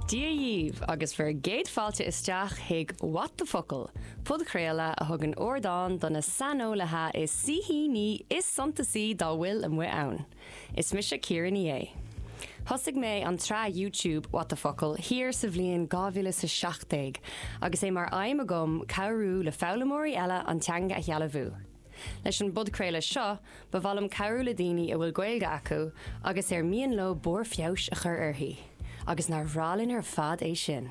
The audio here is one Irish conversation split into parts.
Dia dhíbh agus bhur gcéad fáilte isteach chuig What the Focal, podchraoladh a thugann ardán do na saineolaithe is saoithíní is suntasaí dá bhfuil amuigh ann. Is mise Ciara Ní É. Thosaigh mé an tsraith YouTube What the Focal thiar sa bhliain 2017 agus é mar aidhm agam cabhrú le foghlaimeoirí eile an teanga a shealbhú. Leis an bpodchraoladh seo, ba mhaith liom cabhrú le daoine a bhfuil Gaeilge acu agus ar mian leo barr feabhais a chur uirthi. Agus nár bhreá linn ar fad é sin?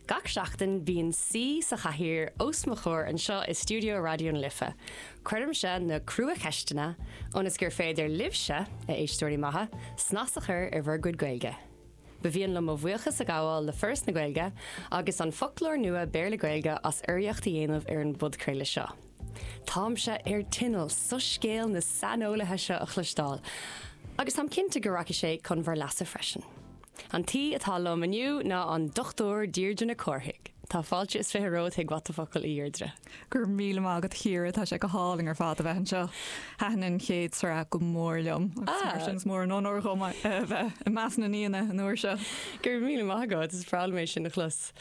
Gach seachtain bíonn saoi sa chathaoir os mo chomhair anseo i stiúideo Raidió na Life. Cuirimse na cruacheisteanna ionas gur féidir libhse, a éisteoirí maithe, snas a chur ar bhur gcuid Gaeilge. Ba mhian liom mo bhuíochas a ghabháil le Foras na Gaeilge agus an Foclóir Nua Béarla-Gaeilge as urraíocht a dhéanamh ar an bpodchraoladh seo. Táimse ar tinneall soiscéal na saineolaithe seo a chloisteáil agus táim cinnte go rachaidh sé chun bhur leasa freisin. An t-aoi atá liom inniu ná an Dr Deirdre Nic Cárthaigh. Tá fáilte is 20 romhat chuig What the Focal, a Dheirdre. Go raibh míle maith agat a Chiara, tá sé go hálainn ar fad a bheith anseo. Thaitin an chéad sraith go mór liom agus mar sin is mór an onóir dhom a bheith i measc na n-aíonna an uair seo. Go raibh míle maith agat, is breá liom é sin a chlos.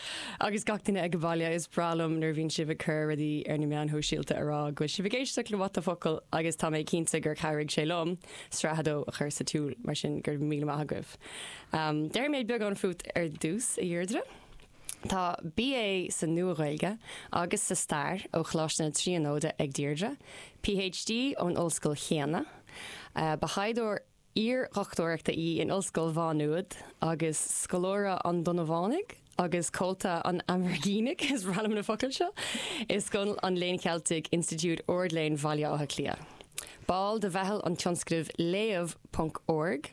Agus gach duine ag baile, is breá liom nuair a bhíonn sibh ag cur rudaí ar na meáin shóisialta a rá go bhfuil sibh ag éisteacht le What the Focal agus tá mé cinnte gur chabhraigh sé liom sraith a dó a chur sa tsiúl, mar sin go raibh míle maith agaibh. Déarfaidh mé beagán fút ar dtús, a Dheirdre. Tá BA sa Nua-Ghaeilge agus sa Stair ó Choláiste na Tríonóide ag Deirdre, PhD ón ollscoil chéanna. Ba thaighdeoir iar-dhochtúireachta í in Ollscoil Mhá Nuad agus scoláire an Donnabhánaigh agus comhalta an Amerginigh, is breá liom na focail seo, i Scoil an Léinn Cheiltigh, Institiúid Ard-Léinn Bhaile Átha Cliath. Ball de mheitheal an tionscnaimh Léamh. Ponc org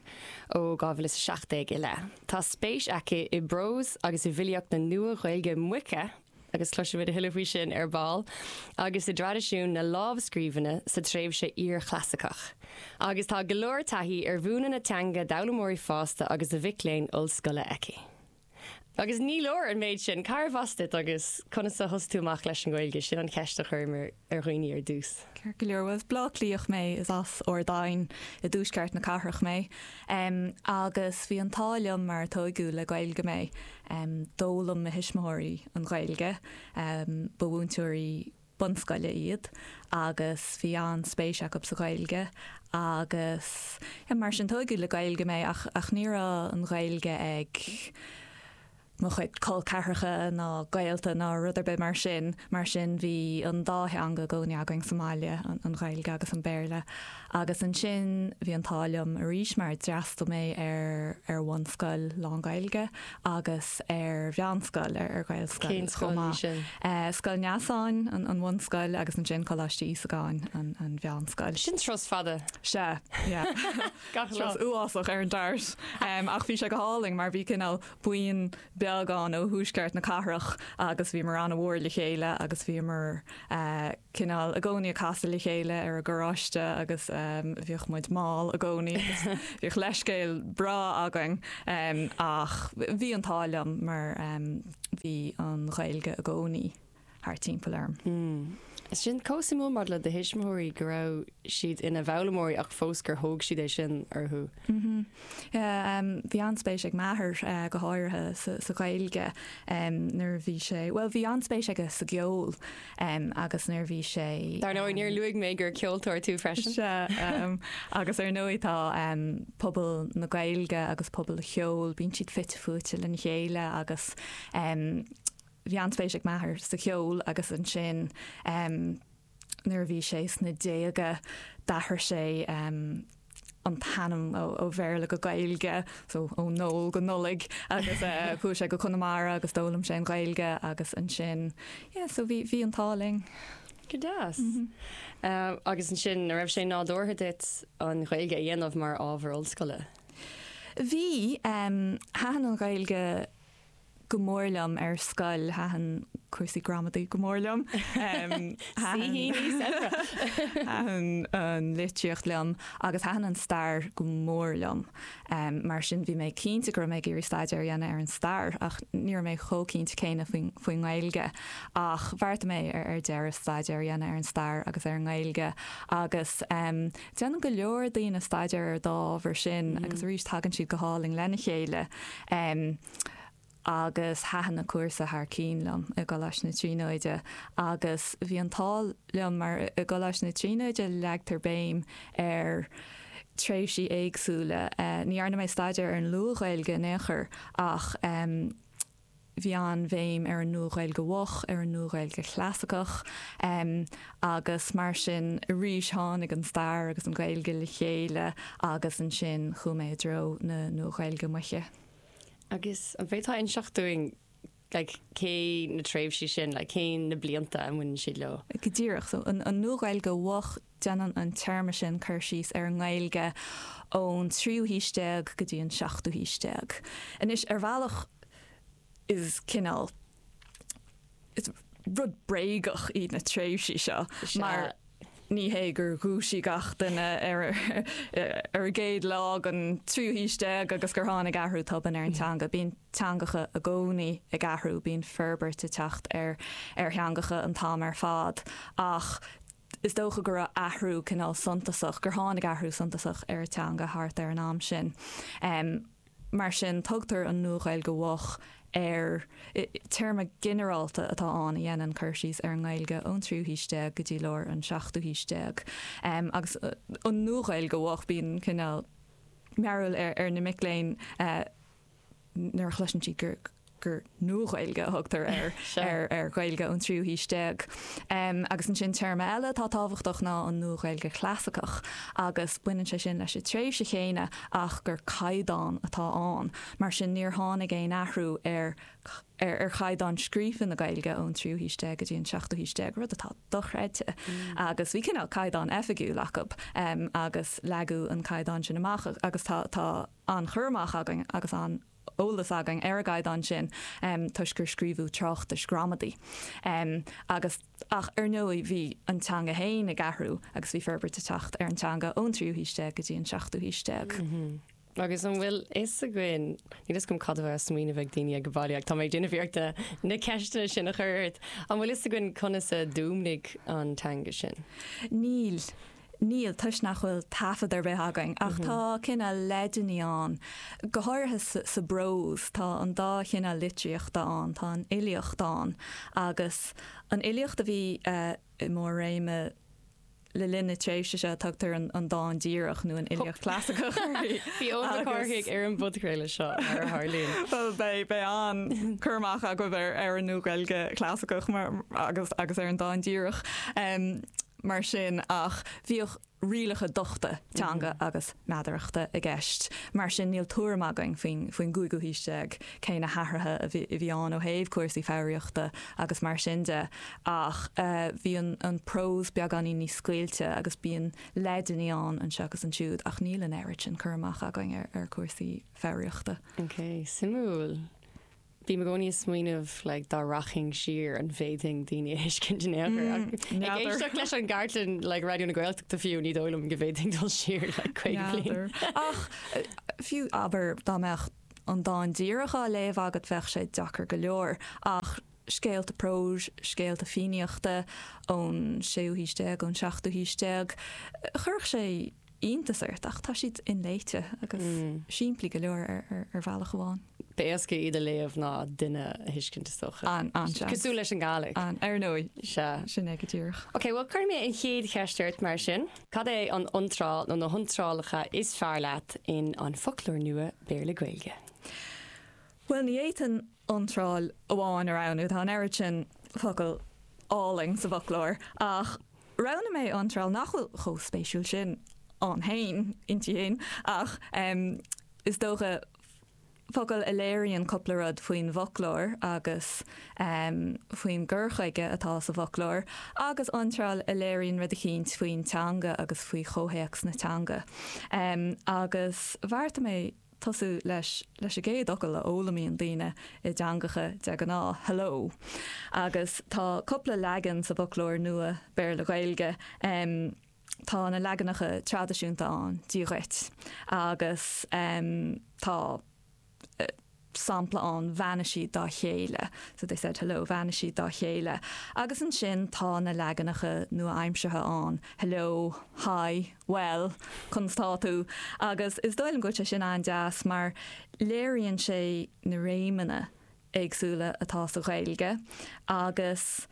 ó 2017 i leith. Tá spéis aici i bprós agus i bhfilíocht na Nua-Ghaeilge Moiche, agus cloisfimid a thuilleadh faoi sin ar ball, agus i dtraidisiún na lámhscríbhinne sa tréimhse iarchlasaiceach. Agus tá go leor taithí ar mhúineadh na teanga d'fhoghlaimeoirí fásta agus do mhic léinn ollscoile aici. Agus ní leor an méid sin. Cárbh as duit agus conas a thosaigh tú amach leis an Ghaeilge? Sin an cheist a chuirim ar dhaoine ar dtús. Ceart go leor. Bhuel, is Bleá Cliathach mé, is as Ard Aidhin i dtuaisceart na cathrach mé. Agus bhí an t-ádh liom mar tóigeadh le Gaeilge mé. D'fhoghlaim mo thuismitheoirí an Ghaeilge. Ba mhúinteoirí bunscoile iad agus bhí an-spéis acu sa Ghaeilge agus mar sin tóigeadh le Gaeilge mé ach ach ní raibh an Ghaeilge ag mo chuid col ceathracha ná gaolta ná rud ar bith mar sin, mar sin bhí an dá theanga i gcónaí againn sa mbaile, an Ghaeilge agus an Béarla. Agus ansin bhí an t-ádh liom arís mar d'fhreastail mé ar ar bhunscoil lán-Ghaeilge agus ar mheánscoil, ar Ghaelscoil Cén scoil chomh maith. í sin? Scoil Neasáin, an bhunscoil, agus ansin Coláiste Íosagáin, an mheánscoil. Sin turas fada. Sea, yeah. Gach lá. Turas uafásach ar an DART. Ach bhí sé go hálainn mar bhí cineál buíon beag ann ó thuaisceart na cathrach agus bhíomar an-mhór le chéile agus bhíomar cineál i gcónaí ag casadh le chéile ar an gcarráiste agus bhíodh muid mall i gcónaí agus bhíodh leithscéal breá againn ach bhí an t-ádh liom mar bhí an Ghaeilge i gcónaí thart timpeall orm. Sin chomh suimiúil maidir le do thuismitheoirí go raibh siad ina bhfoghlaimeoirí ach fós gur thóg siad é sin orthu. Bhí an-spéis ag m'athair go háirithe sa Ghaeilge nuair a bhí sé, bhuel bhí an-spéis aige sa gceol agus nuair a bhí sé. Dar ndóigh, níor luaigh mé gur ceoltóir tú freisin. Sea, agus ar ndóigh tá pobal na Gaeilge agus pobal an cheoil, bíonn siad fite fuaite lena chéile agus bhí an-spéis ag m'athair sa cheol agus ansin nuair a bhí sé sna déaga d'athraigh sé an t-ainm ó Bhéarla go Gaeilge, so ó Noel go Nollaig agus chuaigh sé go Conamara agus d'fhoghlaim sé an Ghaeilge agus ansin, yeah, so bhí, bhí an t-ádh linn. Go deas. Agus ansin, an raibh sé nádúrtha duit an Ghaeilge a dhéanamh mar ábhar ollscoile? Bhí, thaitin an Ghaeilge go mór liom ar scoil, thaitin cúrsaí gramadaí go mór liom. Thaitin an litríocht liom agus thaitin an stair go mór liom. Mar sin bhí mé cinnte go raibh mé ag iarraidh staidéar a dhéanamh ar an stair ach ní raibh mé chomh cinnte céanna faoin nGaeilge. Ach bheartaigh mé ar deireadh staidéar a dhéanamh ar an stair agus ar an nGaeilge agus déanann go leor daoine staidéar ar an dá ábhar sin agus arís tagann siad go hálainn lena chéile. Agus thaitin an cúrsa thar cinn liom i gColáiste na Tríonóide agus bhí an t-ádh liom mar i gColáiste na Tríonóide leagtar béim ar tréimhsí éagsúla. Ní dhearna mé staidéar ar an Luath-Ghaeilge in aon chor ach bhí an-bhéim ar an Nua-Ghaeilge Mhoch, ar an Nua-Ghaeilge Chlasaiceach agus mar sin arís tháinig an stair agus an Ghaeilge le chéile agus ansin chuaigh mé i dtreo na Nua-Ghaeilge Moiche. Agus an bhféadfá inseacht dúinn like cé na tréimhsí sin, like cé na blianta a mbaineann siad leo? Go díreach. So an Nua-Ghaeilge Mhoch, déanann an téarma sin cur síos ar an nGaeilge ón tríú haois déag go dtí an seachtú haois déag. Anois, ar bhealach is cineál, is rud bréagach iad na tréimhsí seo mar ní hé gur dhúisigh gach duine ar ar an gcéad lá den tríú haois déag agus gur tháinig athrú tobann ar an teanga. Bíonn teangacha i gcónaí ag athrú, bíonn forbairt ag teacht ar ar theangacha an t-am ar fad ach is dócha go raibh athrú cineál suntasach, gur tháinig athrú suntasach ar an teanga thart ar an am sin. Mar sin, tugtar an Nua-Ghaeilge Mhoch ar, téarma ginearálta atá ann a dhéanann cur síos ar an nGaeilge ón tríú haois déag go dtí lár an seachtú haois déag. Agus an Nua-Ghaeilge Mhoch, bíonn cineál mearbhall ar na mic léinn nuair a chloiseann siad gur gur Nua-Ghaeilge a thugtar ar ar Ghaeilge ón tríú haois déag. Agus ansin téarma eile atá tábhachtach ná an Nua-Ghaeilge Chlasaiceach agus baineann sé sin leis an tréimhse chéanna ach gur caighdeán atá ann. Mar sin níor tháinig aon athrú ar ar chaighdeán scríofa na Gaeilge ón tríú haois déag go dtí an seachtú haois déag, rud atá dochreidte. Agus bhí cineál caighdeán oifigiúil acu agus leagadh an caighdeán sin amach agus tá tá an-chur amach againn agus an eolas againn ar an gcaighdeán sin toisc gur scríobhadh tráchtais gramadaí agus ach ar ndóigh bhí an teanga féin ag athrú agus bhí forbairt ag teacht ar an teanga ón tríú haois déag go dtí an seachtú haois déag. Agus an bhfuil fhios againn, níl fhios agam cad a bheadh á smaoineamh ag daoine ag baile ach tá mé ag déanamh iarrachta na ceisteanna sin a chur ort, an bhfuil fhios againn conas a d'fhuaimnigh an teanga sin? Níl. Níl, toisc nach bhfuil taifead ar bith againn, ach tá cineál leideanna ann, go háirithe sa bprós. Tá an dá chineál litríochta ann, tá an fhilíocht ann agus an fhilíocht a bhí i mbarr réime le linn na tréimhse seo, tugtar an dán díreach nó an fhilíocht chlasaiceach uirthi. Bhí Eoin Mac Cárthaigh ar an bpodchraoladh seo, mar a tharlaíonn. Bhuel, beidh, beidh an-chur amach agaibh ar an Nua-Ghaeilge Chlasaiceach mar, agus, agus ar an dán díreach. mar sin ach bhíodh rialacha dochta teanga agus meadarachta i gceist. Mar sin níl tuairim againn faoin faoin gcúigiú haois déag cé na hathruithe a bhí a bhí ann ó thaobh cúrsaí foghraíochta agus mar sin de ach bhí an an prós beagáinín níos scaoilte agus bíonn leideanna ann anseo agus ansiúd ach níl an oiread sin cur amach againn ar ar chúrsaí foghraíochta. Ok, suimiúil. Bím i gcónaí ag smaoineamh like dá rachainn siar an bhféadfainn daoine a thuiscint in aon chor ach ag éisteacht leis an gcartlann like Raidió na Gaeltachta fiú ní dóigh liom go bhféadfainn dul siar like 50 bliain. Ach fiú abair dá mbeadh an dán díreach á léamh agat bheadh sé deacair go leor ach scéalta próis, scéalta Fiannaíochta ón séú haois déag, ón seachtú haois déag, chuirfeadh sé iontas ort ach tá siad inléite agus simplí go leor ar bhealach amháin. B'éasca iad a léamh ná duine a thuiscint is dócha. An-seans. Cosúil leis an Ghàidhlig. An, ar ndóigh. Sea. Sin é go díreach. Ok, bhuel cuirfidh mé an chéad cheist ort mar sin. Cad é an iontráil nó na hiontrálacha is fearr leat in An Foclóir Nua Béarla-Gaeilge? Bhuel, ní fhéadfainn iontráil amháin a roghnú, tá an oiread sin focal álainn sa bhfoclóir, ach roghnaigh mé iontráil nach bhfuil chomh spéisiúil sin ann féin, inti féin, ach is dócha focal a léiríonn cúpla rud faoin bhfoclóir agus faoin gcur chuige atá sa bhfoclóir, agus iontráil a léiríonn rud eicínt faoin teanga agus faoi chomhthéacs na teanga. Agus bheartaigh mé tosú leis leis an gcéad fhocal a fhoghlaimíonn daoine i dteangacha de ghnáth, hello. Agus tá cúpla leagan sa bhfoclóir nua Béarla-Gaeilge. Tá na leaganacha traidisiúnta ann, Dia dhuit, agus tá sampla ann, bheannaigh siad dá chéile, so they said hello, bheannaigh siad dá chéile. Agus ansin tá na leaganacha nua-aimseartha ann, hello, hi, bhuel, conas tá tú? Agus is dóigh liom go bhfuil sé sin an-deas mar léiríonn sé na réimeanna. éagsúla atá sa Ghaeilge agus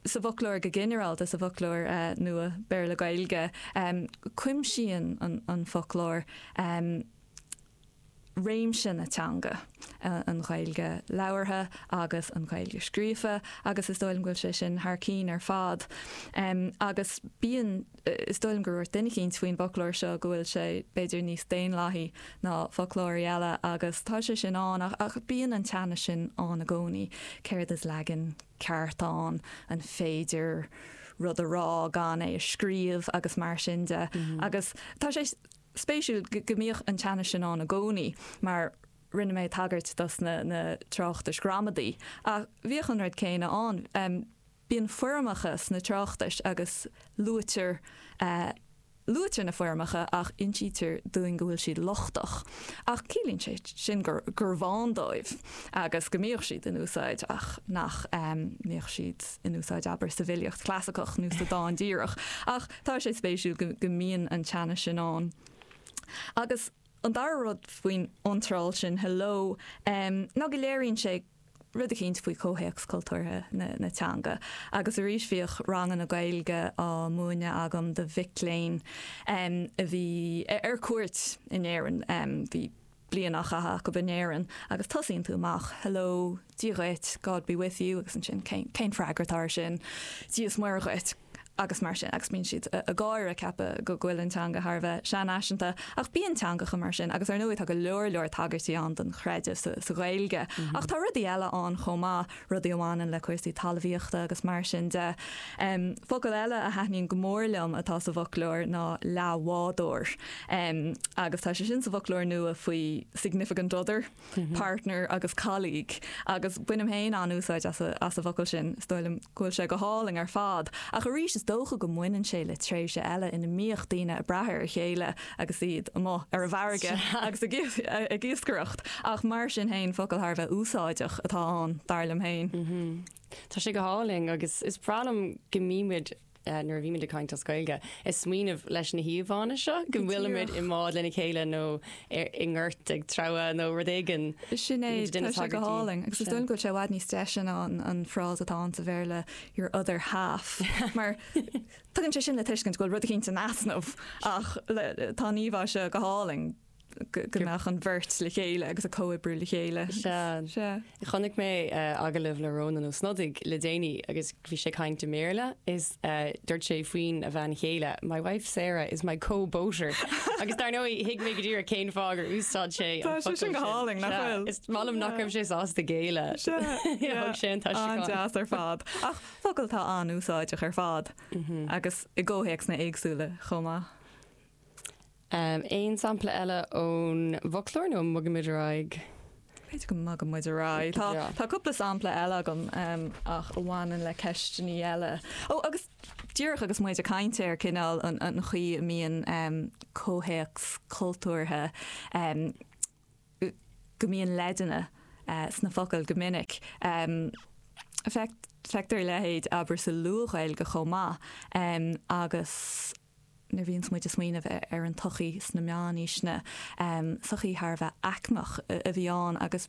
sa bhfoclóir go ginearálta, sa bhfoclóir nua Béarla-Gaeilge, cuimsíonn an foclóir réimse na teanga, an Ghaeilge labhartha agus an Ghaeilge scríofa agus is dóigh liom go bhfuil sé sin thar cinn ar fad. Agus bíonn, is dóigh liom gur dhúirt duine eicínt faoin bhfoclóir seo go bhfuil sé b'fhéidir níos daonlathaí ná foclóirí eile agus tá sé sin ann ach bíonn an teannas sin ann i gcónaí, céard is leagan ceart ann, an féidir rud a rá gan é a scríobh agus mar sin de. Agus tá sé spéisiúil go mbíodh an teannas sin ann i gcónaí mar rinne mé tagairt dos na tráchtais ghramadaí ach bhíodh an rud céanna ann. Bíonn foirmeacha sna tráchtais agus luaitear luaitear na foirmeacha ach insítear dúinn go bhfuil siad lochtach. Ach ciallaíonn sé sin gur gurbh ann dóibh agus go mbíodh siad in úsáid ach nach mbíodh siad in úsáid abair sa bhfilíocht chlasaiceach nó sa dán díreach. Ach tá sé spéisiúil go go mbíonn an teannas sin ann. Agus an dara rud faoin iontráil sin hello ná go léiríonn sé rud eicínt faoi chomhthéacs cultúrtha na teanga. Agus arís bhíodh ranganna Gaeilge á múineadh agam do mhic léinn a bhí ar cuairt in Éirinn. Bhí bliain á chaitheamh acu in Éirinn agus tosaíonn tú amach, hello, Dia dhuit, God be with you agus ansin cén freagra atá air sin? Dia is Muire dhuit. agus mar sin, agus bíonn siad ag gáire, ag ceapadh go bhfuil an teanga thar a bheith seanfhaiseanta. Ach bíonn teangacha mar sin, agus ar ndóigh tá go leor leor tagairtí ann don chreideamh sa Ghaeilge. Ach tá rudaí eile ann chomh maith, rudaí a bhaineann le cúrsaí talmhaíochta agus mar sin de. Focal eile a thaitníonn go mór liom atá sa bhfoclóir ná leathbhádóir. Agus tá sé sin sa bhfoclóir nua faoi significant other. partner agus colleague agus bainim féin an-úsáid as an bhfocal sin, is dóigh liom go bhfuil sé go hálainn ar fad. Ach arís is dócha go mbaineann sé le tréimhse eile ina mbíodh daoine ag brath ar a chéile agus iad amuigh ar an bhfarraige agus ag iascaireacht. Ach mar sin féin, focal thar a bheith úsáideach atá ann, dar liom féin. Tá sé go hálainn agus is breá liom go mbímid nuair a bhímid ag caint as Gaeilge, ag smaoineamh leis na híomhánna seo, go bhfuilimid i mbád lena chéile nó i ngort ag treabhadh nó rud éigin. Sin é, tá sé go hálainn. Agus is dóigh liom go bhfuil sé i bhfad níos deise ná an frása atá ann sa Bhéarla, your other half. Mar tugann sé sin le tuiscint go bhfuil rud eicínt in easnamh ach tá an íomhá seo go hálainn. go mbeadh an bheirt le chéile agus ag comhoibriú le chéile. Sea. Sea. Chonaic mé agallamh le Rónán Ó Snodaigh le déanaí agus bhí sé ag caint i mBéarla is dúirt sé faoin a bhean chéile, My wife Sarah is my co-boater. Agus dar ndóigh, thuig mé go díreach cén fáth gur úsáid sé an focal sin. Tá sé sin go hálainn, nach bhfuil? Is maith liom nach raibh sé sásta géilleadh. Sea. Thug sé an t-aistriúchán. An-deas ar fad. Ach focal atá an-úsáideach ar fad agus i gcomhthéacsanna éagsúla chomh maith. Aon sampla eile ón bhfoclóir nó an mbogaimid ar aghaidh? B'fhéidir go mbogadh muid ar aghaidh. Tá, tá cúpla sampla eile agam ach a bhaineann le ceisteanna eile. Ó, agus díreach agus muid ag caint ar cineál an, an chaoi a mbíonn comhthéacs cultúrtha, go mbíonn leideanna sna focail go minic. Feictear a leithéid, abair, sa Luath-Ghaeilge chomh maith agus. nuair a bhíonns muid ag smaoineamh ar an tsochaí sna meánaoiseanna, sochaí thar a bheith aicmeach a bhí ann agus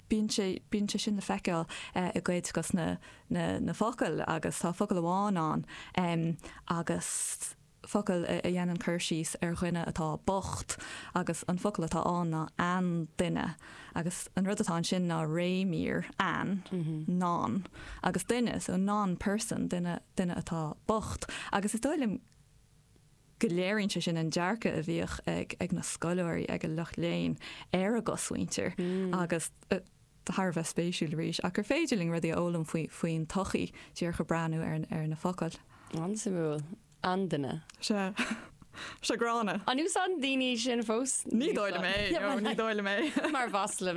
bíonn sé, bíonn sé sin le feiceáil i gcuid dos na, na, na focail agus tá focal amháin ann agus focal a dhéanann cur síos ar dhuine atá bocht agus an focal atá ann ná ainduine agus an rud atá ansin ná réimír, ain, non, agus duine, so non-person, duine, duine atá bocht. Agus is dóigh liom go léiríonn sé sin an dearcadh a bhíodh ag, ag na scoláirí, ag an lucht léinn ar a gcosmhuintir agus thar a bheith spéisiúil arís ach gur féidir linn rudaí a fhoghlaim faoi, faoin tsochaí díreach ag breathnú ar, ar na focail. An-suimiúil. Ainduine. Sea. Sea, gránna. An úsáideann daoine sin fós? Ní dóigh liom é, no, ní dóigh liom é. Mar mhasla.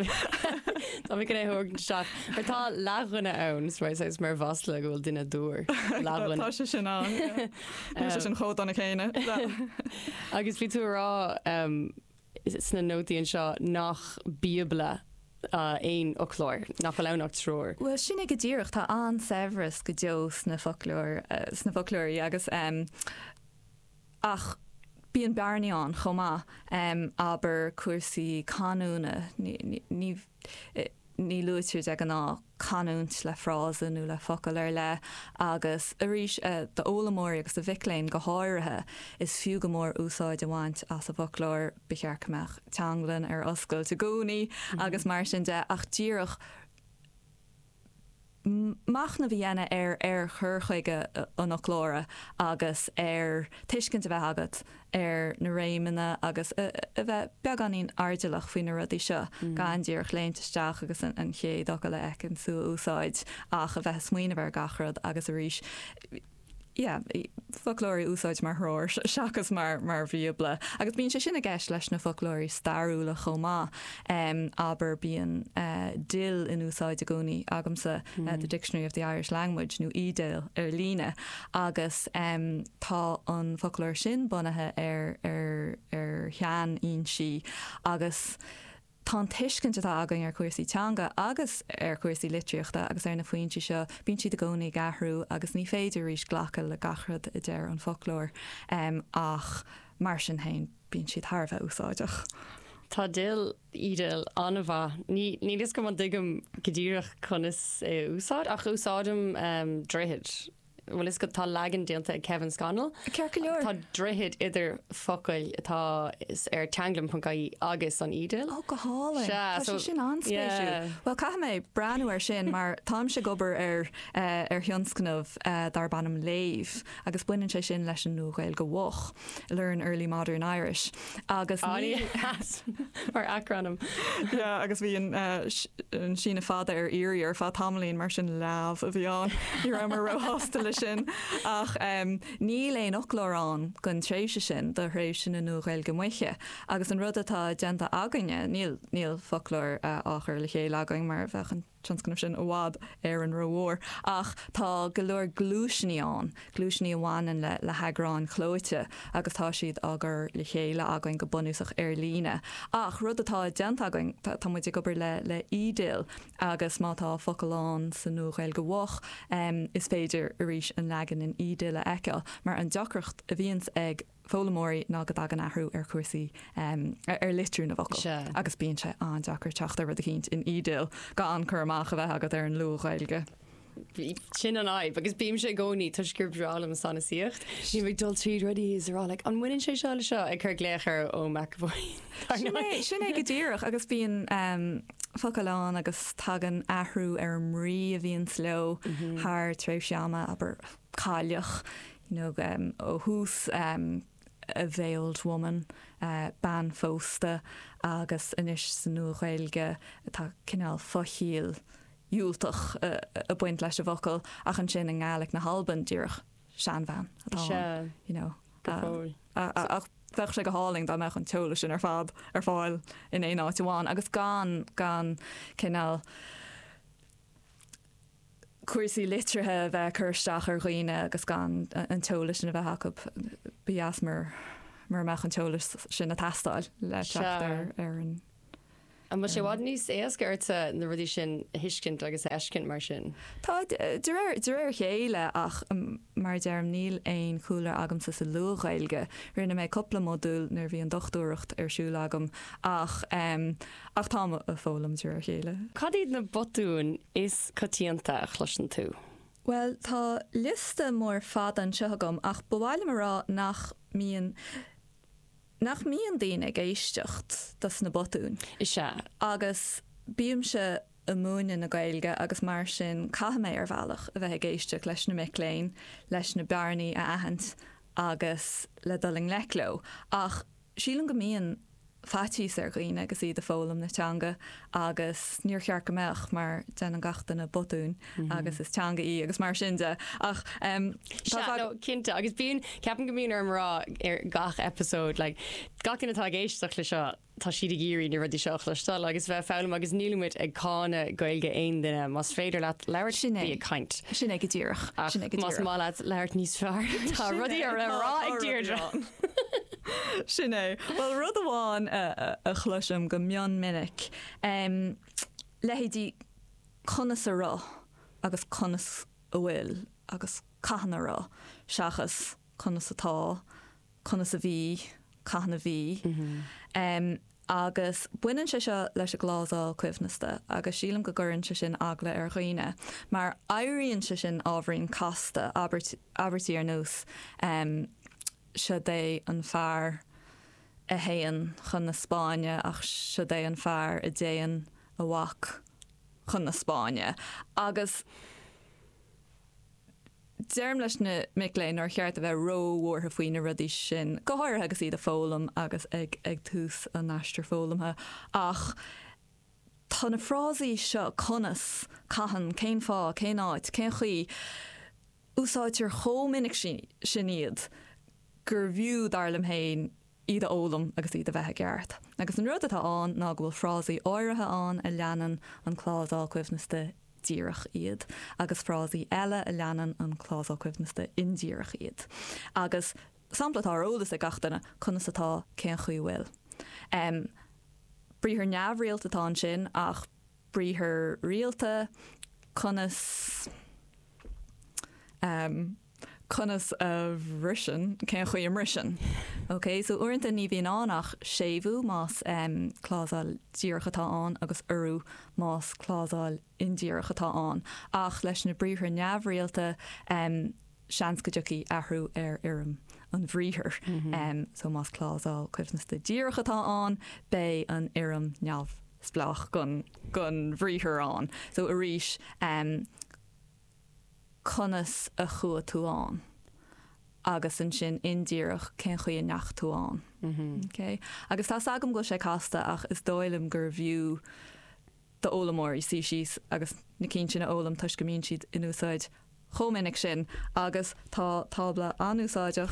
Tá mé chun é a thabhairt isteach. Mar tá leathdhuine ann, is mar is mar mhasla go bhfuil duine dúr. Leathdhuine. Tá sé sin ann, yeah. Níl sé sin chomh dona céanna. Agus bhí tú ag rá sna nótaí anseo nach bíobla aon fhoclóir, nach bhfuil ann ach treoir. Bhuel, sin é go díreach. Tá an-saibhreas go deo sna foclóir, sna foclóirí agus ach. bíonn bearnaí ann chomh maith, abair cúrsaí canúna, ní, ní, ní luaitear de ghnáth canúint le frása nó le focal ar leith agus arís d'fhoghlaimeoirí agus do mhic léinn go háirithe, is fiú go mór úsáid a bhaint as an bhfoclóir, ba cheart go mbeadh teanglann ar oscailt i gcónaí agus mar sin de ach díreach machnamh a dhéanamh ar ar chur chuige an fhoclóra agus ar tuiscint a bheith agat ar na réimeanna agus a bheith beagáinín airdeallach faoi na rudaí seo, gan díreach léimt isteach agus an chéad fhocal a fheiceann tú a úsáid ach a bheith ag smaoineamh ar gach rud agus arís yeah, foclóirí a úsáid mar threoir seachas mar mar bhíobla. Agus bíonn sé sin i gceist leis na foclóirí stairiúla chomh maith. Abair, bíonn DIL in úsáid i gcónaí agamsa, The Dictionary of the Irish Language, nó eDIL ar líne, agus tá an foclóir sin bunaithe ar ar ar sheanfhoinsí agus Tá an tuiscint atá againn ar chúrsaí teanga agus ar chúrsaí litríochta agus ar na foinsí seo, bíonn siad i gcónaí ag athrú agus ní féidir arís glacadh le gach rud a deir an foclóir ach mar sin féin bíonn siad thar a bheith úsáideach. Tá DIL, eDIL, an-mhaith. Ní, níl fhios agam an dtuigim go díreach conas é a úsáid ach úsáidim Droichead. Bhfuil fhios agat, tá leagan déanta ag Kevin Scannell. Ceart go leor. Tá droichead idir focail atá ar teanglann.ie agus an eDIL. Ó, go hálainn. Sea, Tá sé sin an-spéisiúil. Bhuel, caithfidh mé breathnú air sin mar táimse ag obair ar ar thionscnamh darb ainm Léamh agus baineann sé sin leis an Nua-Ghaeilge Mhoch, Learn Early Modern Irish, agus ní. An-deas mar acrainm. Yeah, agus bhí an an síneadh fada ar iarraidh ar feadh tamaillín, mar sin leamh a bhí ann. Ní rabhamar róshásta leis sin. Ach níl aon fhoclóir ann don tréimhse sin, do thréimhse na Nua-Ghaeilge Moiche. Agus an rud atá déanta againne, níl, níl foclóir á chur le chéile againn mar bheadh an tionscnamh sin i bhfad Éireann rómhór. Ach tá go leor gluaiseanna ann, gluaiseanna a bhaineann le le heagráin chlóite agus tá siad á gcur le chéile againn go bunúsach ar líne. Ach rud atá déanta againn, tá muid ag obair le le eDIL agus má tá focal ann sa Nua-Ghaeilge Mhoch, is féidir arís an leagan in eDIL a fheiceáil. Mar an deacracht a bhíonns ag foghlaimeoirí ná go dtagann athrú ar chúrsaí, ar litriú na bhfocal agus bíonn sé an-deacair teacht ar rud eicínt in eDIL gan cur amach a bheith agat ar an Luath-Ghaeilge. Sin an fhadhb agus bímse i gcónaí, toisc gur breá liom sanasaíocht, bím ag dul tríd rudaí is a rá like an mbaineann sé seo le seo? Ag cur glaoch ar Eoin McEvoy. Sin é, sin é go díreach agus bíonn focail ann agus tagann athrú ar an mbrí a bhíonns leo thar tréimhsí ama, abair cailleach, you know, ó thús a veiled woman, bean phósta agus anois sa Nua-Ghaeilge tá cineál fochiall dhiúltach ag baint leis an bhfocal ach ansin i nGaelic na hAlban díreach seanbhean atá ann, you know. Go fóill. Ach bheadh sé go hálainn dá mbeadh an t-eolas sin ar fad ar fáil in aon áit amháin agus gan, gan cineál, cúrsaí litrithe a bheith ag cur isteach ar dhaoine agus gan an t-eolas sin a bheith acu. Ba dheas mura mbeadh an t-eolas sin ag teastáil le teacht ar an. An bhfuil sé i bhfad níos éasca ortsa na rudaí sin a thuiscint agus a fheiscint mar sin? Tá, de réir de réir a chéile ach mar a deirim níl aon chúlra agamsa sa Luath-Ghaeilge. Rinne mé cúpla modúl nuair a bhí an dochtúireacht ar siúl agam ach. Ach táim ag foghlaim de réir a chéile. Cad iad na botúin is coitianta a chloiseann tú? Bhuel, tá liosta mór fada anseo agam ach ba mhaith liom a rá nach mbíonn, nach mbíonn daoine ag éisteacht dos na botúin. Is ea. Agus bímse ag múineadh na Gaeilge agus mar sin caithfidh mé ar bhealach a bheith ag éisteacht leis na mic léinn, leis na bearnaí a aithint agus le dul i ngleic leo. Ach sílim go mbíonn faitíos ar dhaoine agus iad ag foghlaim na teanga agus níor cheart go mbeadh mar déanann gach duine botúin agus is teanga í agus mar sin de ach tá Sea, no, cinnte agus bíonn, ceapaim go mbíonn orm rá ar gach episode like gach duine atá ag éisteacht le seo tá siad ag iarraidh na rudaí seo a chloisteáil agus bheith ag foghlaim agus nílimid ag cáineadh Gaeilge aon duine más féidir leat labhairt Sin é. bí ag caint. Sin é go díreach. Ach Sin é go más díreach. maith leat labhairt níos fearr tá rudaí ar le rá ag Deirdre. Sin é. Bhuel, rud amháin a chloisim go mion minic, leithéidí conas a raibh agus conas a bhfuil agus cathain a raibh seachas conas atá, conas a bhí. cathain a bhí. Agus baineann sé seo leis an gclásal coibhneasta agus sílim go gcuireann sé sin eagla ar dhaoine mar éiríonn sé sin ábhairín casta, abairt, abairtí ar nós 'Siod é an fear a théann chun na Spáinne ach siod é an fear a dtéann a mhac chun na Spáinne' agus. Deirim leis na mic léinn nár cheart a bheith ró-bhuartha faoi na rudaí sin, go háirithe agus iad ag foghlaim agus ag ag tús a n-aistir foghlamtha, ach tá na frásaí seo, conas, cathain, cén fáth, cén áit, cén chaoi, úsáidtear chomh minic sin iad gurbh fhiú, dar liom féin, iad a fhoghlaim agus iad a bheith i gceart. Agus an rud atá ann ná go bhfuil frásaí áirithe ann a leanann an clásal coibhneasta díreach iad, agus frásaí eile a leanann an clásal coibhneasta indíreach iad. Agus sampla atá ar eolas ag gach duine, conas atá, cén chaoi bhfuil. Briathar neamhrialta atá ansin ach briathar rialta, conas. Conas a bhriseann, cén chaoi a mbriseann. Ok, so uaireanta ní bhíonn ann ach séimhiú más clásal díreach atá ann agus urú más clásal indíreach atá ann. Ach leis na briathra neamhrialta, seans go dtiocfaidh athrú ar fhoirm an bhriathair. So más clásal coibhneasta díreach atá ann, beidh an fhoirm neamhspleách den bhriathar ann. So arís, conas a chuaigh tú ann? Agus ansin indíreach, cén chaoi a ndeachaigh tú ann? Ok? Agus tá's agam go bhfuil sé casta ach is dóigh liom gurbh fhiú d'fhoghlaimeoirí suí síos agus na cinn sin a fhoghlaim toisc go mbíonn siad in úsáid chomh minic sin agus tá tábla an-úsáideach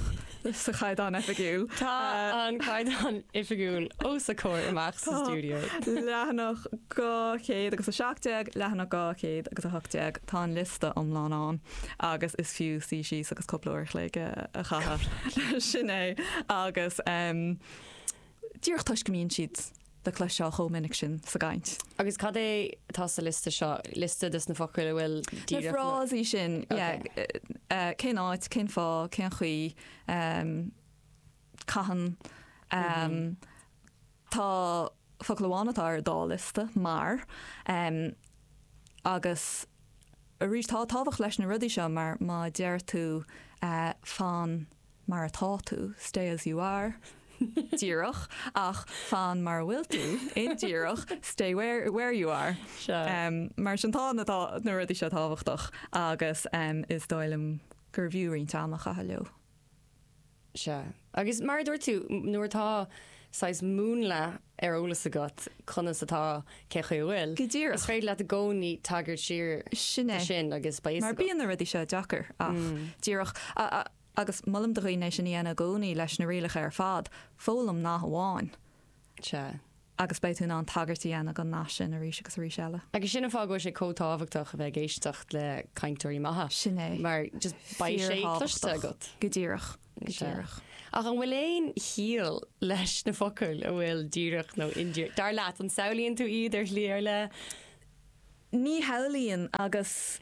sa Chaighdeán Oifigiúil. Tá an Caighdeán Oifigiúil os a comhair amach sa stiúideo. Leathanach 217, leathanach 218, tá an liosta iomlán ann agus is fiú suí síos agus cúpla uair a chloig a chaitheamh. Sin é. Agus díreach toisc go mbíonn siad le cloisteáil chomh minic sin sa gcaint. Agus cad é atá sa liosta seo? Liosta des na focail a bhfuil díreach. Na frásaí sin, yeah. Cén áit, cén fáth, cén chaoi, cathain. Tá focal amháin atá ar an dá liosta, mar. Agus arís, tá tábhacht leis na rudaí seo mar má deir tú fan mar atá tú, stay as you are, díreach, ach fan mar a bhfuil tú, indíreach, stay where, where you are. Mar sin tá na, na rudaí seo tábhachtach agus is dóigh liom gurbh fhiú roinnt ama a chaitheamh leo. Sea. Agus mar a dúirt tú, nuair atá saghas múnla ar eolas agat conas atá, cén chaoi a bhfuil, Go díreach. is féidir leat i gcónaí tagairt siar Sin é. do sin agus beidh fhios Mar agat. bíonn na rudaí seo deacair ach díreach, agus molaim do dhaoine é sin a dhéanamh i gcónaí leis na rialacha ar fad, foghlaim nath amháin. Sea. Agus beidh tú in ann tagairt a dhéanamh don nath sin arís agus arís eile. Agus sin an fáth go bhfuil sé chomh tábhachtach a bheith ag éisteacht le cainteoirí maithe. Sin é. Mar just beidh sé cloiste agat. Go díreach. Go díreach. Ach an bhfuil aon chiall leis na focail a bhfuil díreach nó indíreach? Dar leat, an samhlaíonn tú iad ar shlí ar leith? Ní shamhlaíonn agus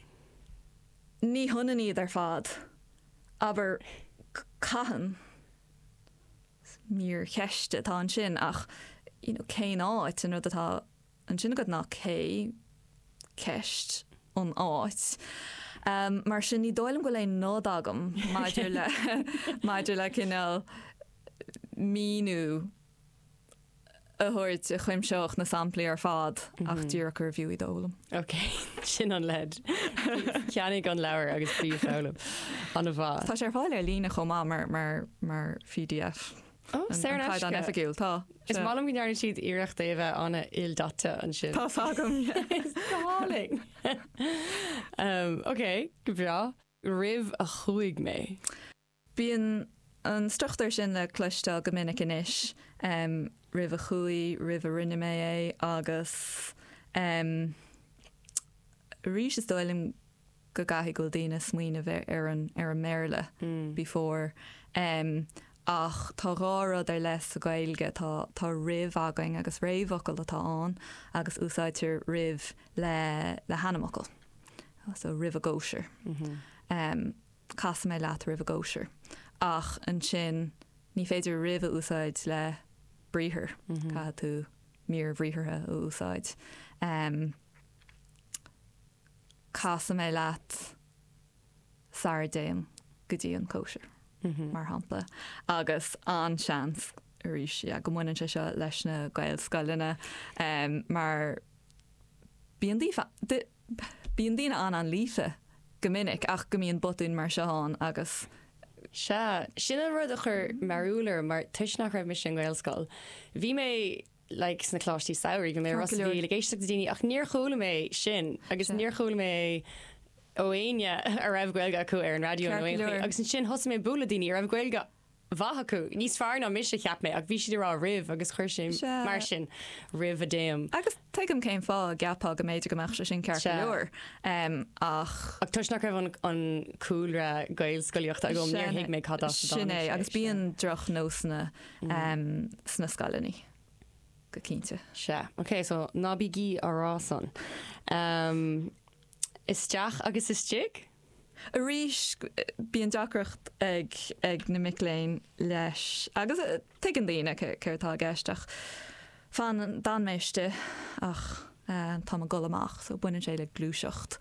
ní hionann iad ar fad. Abair, cathain. Mír cheiste atá ansin ach you know cén áit, an rud atá ansin agat ná cé, ceist, an áit. Mar sin ní dóigh liom go bhfuil aon nod agam maidir le maidir le cineál míniú a thabhairt a chuimseodh na samplaí ar fad ach díreach gurbh fhiú iad a fhoghlaim. Ok, sin an leid. Ceannaigh an leabhar agus bí ag foghlaim. An-mhaith. Tá sé ar fáil ar líne chomh maith mar, mar, mar pdf. Ó, saor in An aisce. Caighdeán Oifigiúil, tá. Is maith liom go ndearna siad iarracht é a bheith an-ildaite ansin. Tá's agam, yeah. Is go hálainn. Um, ok, go breá. Roimh a chuaigh mé. Bíonn an struchtúr sin le cloisteáil go minic anois, roimh a chuaigh, roimh a rinne mé é agus arís is dóigh liom go gcaithfidh go bhfuil daoine ag smaoineamh ar an ar an mBéarla before ach tá dhá rud ar leith sa Ghaeilge, tá tá roimh againn agus réamhfhocal atá ann agus úsáidtear roimh le le hainmfhocal so roimh an gcóisir. Casfaidh mé leat roimh an gcóisir. Ach ansin. Ní féidir roimh a úsáid le briathar, caithfidh tú mír bhriathartha a úsáid. Casfaidh mé leat sara dtéim go dtí an cóisir, mar shampla. Agus an-seans, arís, yeah, go mbaineann sé seo leis na Gaelscoileanna mar bíonn bíonn daoine an-an-líofa go minic ach go mbíonn botúin mar seo ann agus. Sea, sin an rud a chuir mearbhall orm mar toisc nach raibh mise i nGaelscoil, bhí mé like sna coláistí samhraidh, bhí mé i Ros a' Mhíl ag éisteacht le daoine ach níor chuala mé sin agus níor chuala mé ó éinne a raibh Gaeilge acu ar an raidió nó aon chaoi agus ansin thosaigh mé ag bualadh le daoine a raibh Gaeilge mhaith acu, níos fearr ná mise cheap mé, ach bhí siad ag rá roimh agus chuir sé mar sin roimh a dtéim. Agus tuigim cén fáth a gceapfá go mb'fhéidir go mbeadh sé sin ceart go leor, ach. Ach toisc nach raibh an cúlra Gaelscolaíochta agam, níor thuig mé cad as a dtáinig sé. Sin é, agus bíonn drochnósanna sna scoileanna, go cinnte. Sea. Ok, so ná bígí á rá san. Isteach agus istigh? Arís, bíonn deacracht ag ag na mic léinn leis agus tuigeann daoine céard atá i gceist ach fan, d'fhan mé istigh ach táim ag dul amach so baineann sé le gluaiseacht.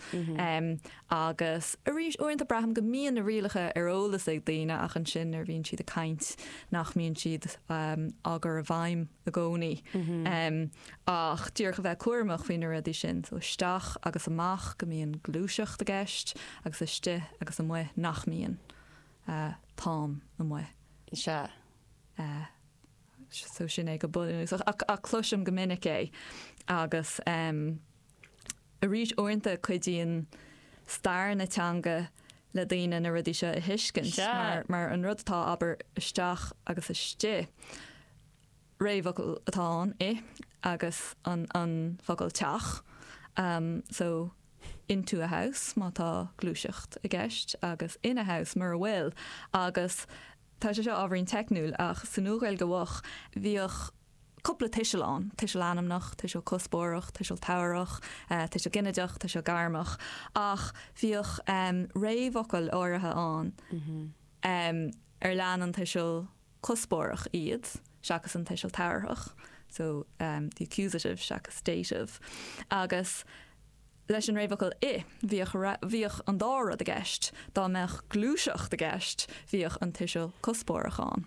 Agus arís, uaireanta braithim go mbíonn na rialacha ar eolas ag daoine ach ansin nuair a bhíonn siad ag caint nach mbíonn siad á gcur i bhfeidhm i gcónaí. Ach díreach a bheith cúramach faoi na rudaí sin, so isteach agus amach go mbíonn gluaiseacht i gceist agus istigh agus amuigh nach mbíonn. Táim amuigh. Sea. So sin é go bunúsach. Ach, ach cloisim go minic é agus arís uaireanta cuidíonn stair na teanga le daoine na rudaí seo a thuiscint mar, mar an rud atá, abair, isteach agus istigh. réamhfhocal atá ann, i, agus an an focal teach, so into a house má tá gluaiseacht i gceist agus in a house mura bhfuil. Agus tá sé seo ábhairín teicniúil ach sa Nua-Ghaeilge Mhoch bhíodh cúpla tuiseal ann, tuiseal ainmneach, tuiseal cuspóireach, tuiseal tabharthach, tuiseal ginideach, tuiseal gairmeach, ach bhíodh réamhfhocail áirithe ann ar lean an tuiseal cuspóireach iad seachas an tuiseal tabharthach, so the accusative seachas dative. Agus leis an réamhfhocal 'i', bhíodh bhíodh an dá rud i gceist, dá mbeadh gluaiseacht i gceist, bhíodh an tuiseal cuspóireach ann.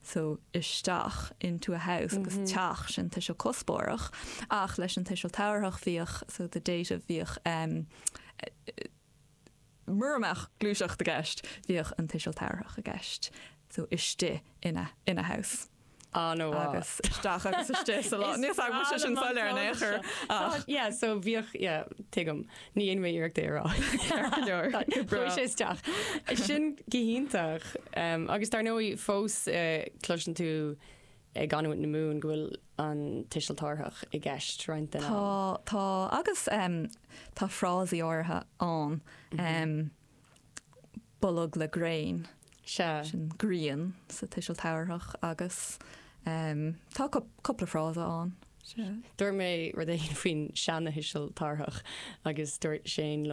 So isteach, into a house, agus teach, sin tuiseal cuspóireach. Ach leis an tuiseal tabharthach bhíodh, so the dative, bhíodh Mura mbeadh gluaiseacht i gceist, bhíodh an tuiseal tabharthach i gceist, so istigh in a, in a house. An-mhaith. Agus isteach agus istigh sa lá. Níl 's agam an bhfuil sé sin soiléir in aon chor ach. Yeah, so bhíodh, yeah, tuigim. Ní dhéanfaidh mé iarracht é a rá. Ceart go leor. Go breá. Chuaigh sé isteach. Sin go hiontach. Agus dar ndóigh fós cloiseann tú i gcanúint na Mumhan go bhfuil an tuiseal tabharthach i gceist roinnt den am. Tá, tá, agus tá frásaí áirithe ann, bolg le gréin. Sea. Sin grian sa tuiseal tabharthach agus tá cúpla frása ann. Sea. Dúirt mé rud éigin faoin seana-thuiseal tabharthach agus dúirt Shane liom.